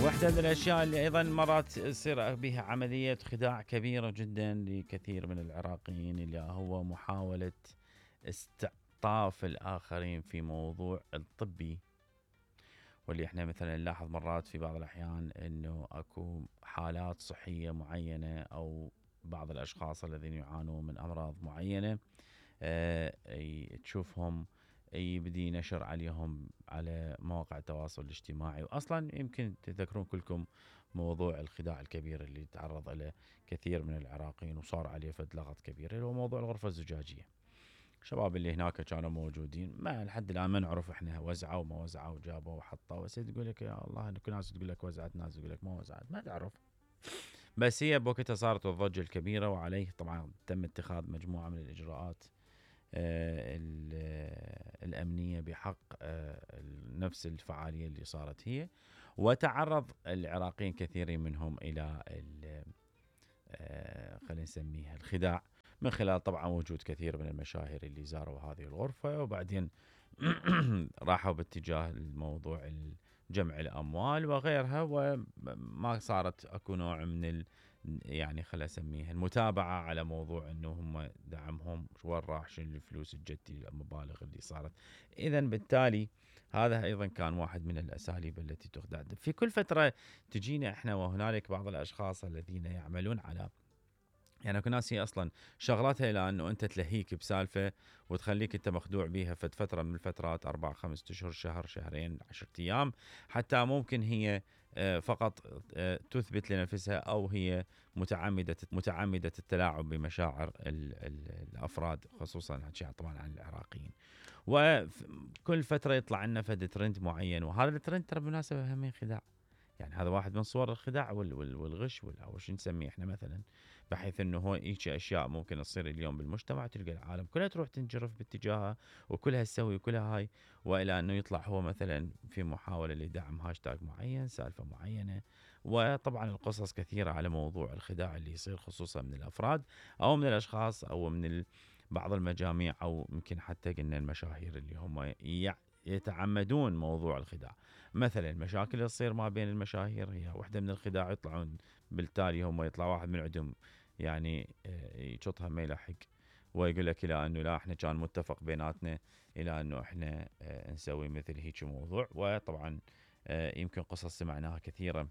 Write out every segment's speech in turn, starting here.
واحدة من الأشياء اللي أيضا مرات يصير بها عملية خداع كبيرة جدا لكثير من العراقيين اللي هو محاولة استعطاف الآخرين في موضوع الطبي، واللي احنا مثلا نلاحظ مرات في بعض الأحيان أنه أكو حالات صحية معينة أو بعض الأشخاص الذين يعانون من أمراض معينة تشوفهم يبدي نشر عليهم على مواقع التواصل الاجتماعي. وأصلا يمكن تذكرون كلكم موضوع الخداع الكبير اللي تعرض له كثير من العراقيين وصار عليه فد لغط كبير، اللي هو موضوع الغرفة الزجاجية. الشباب اللي هناك كانوا موجودين ما لحد الآن ما نعرف احنا وزعوا وما وزعوا وجابوا وحطوا، بس تقول لك يا الله انه ناس تقول لك وزعت، ناس تقول لك ما وزعت، ما تعرف. بس هي بوقتها صارت الضجة الكبيرة، وعليه طبعا تم اتخاذ مجموعة من الإجراءات الأمنية بحق نفس الفعالية اللي صارت هي. وتعرض العراقيين كثيرين منهم إلى خلينا نسميها الخداع، من خلال طبعا وجود كثير من المشاهير اللي زاروا هذه الغرفة، وبعدين راحوا باتجاه الموضوع جمع الأموال وغيرها، وما صارت أكو نوع من يعني خلينا نسميها المتابعة على موضوع أنه هم دعمهم وين راح، شنو الفلوس الجدي، المبالغ اللي صارت. إذن بالتالي هذا أيضا كان واحد من الأساليب التي تخدع. في كل فترة تجينا إحنا وهنالك بعض الأشخاص الذين يعملون على، يعني اكو ناس هي اصلا شغلتها الى انه انت تلهيك بسالفه وتخليك انت مخدوع بيها فتره من الفترات 4 5 اشهر، شهر، شهرين، 10 ايام، حتى ممكن هي فقط تثبت لنفسها او هي متعمده التلاعب بمشاعر الافراد، خصوصا طبعا عن العراقيين. وكل فتره يطلع لنا فد ترند معين، وهذا الترند ترى بالمناسبه هم خداع. يعني هذا واحد من صور الخداع والغش او شو نسميه احنا مثلا، بحيث انه هو هيك اشياء ممكن تصير اليوم بالمجتمع، تلقى العالم كلها تروح تنجرف باتجاهها وكلها تسوي وكلها هاي، والى انه يطلع هو مثلا في محاوله لدعم هاشتاج معين، سالفه معينه. وطبعا القصص كثيره على موضوع الخداع اللي يصير خصوصا من الافراد او من الاشخاص او من بعض المجاميع، او يمكن حتى قلنا المشاهير اللي هم يتعمدون موضوع الخداع. مثلا المشاكل اللي تصير ما بين المشاهير هي واحدة من الخداع، يطلعون بالتالي هم يطلع واحد من عندهم يعني يشطها ما يلحق ويقول لك الى انه لا احنا كان متفق بيناتنا الى انه احنا نسوي مثل هيك موضوع. وطبعا يمكن قصص سمعناها كثيرة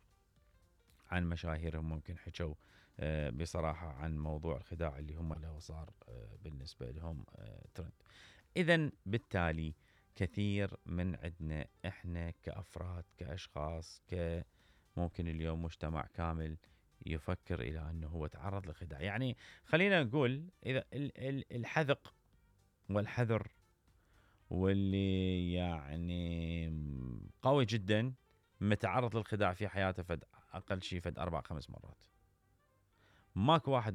عن مشاهيرهم ممكن حكوا بصراحة عن موضوع الخداع اللي هم له صار بالنسبة لهم ترند. إذن بالتالي كثير من عندنا احنا كأفراد كأشخاص ممكن اليوم مجتمع كامل يفكر إلى أنه هو تعرض لخداع. يعني خلينا نقول إذا الحذق والحذر واللي يعني قوي جدا متعرض للخداع في حياته فد أقل شيء فد 4 5 مرات. ماكو واحد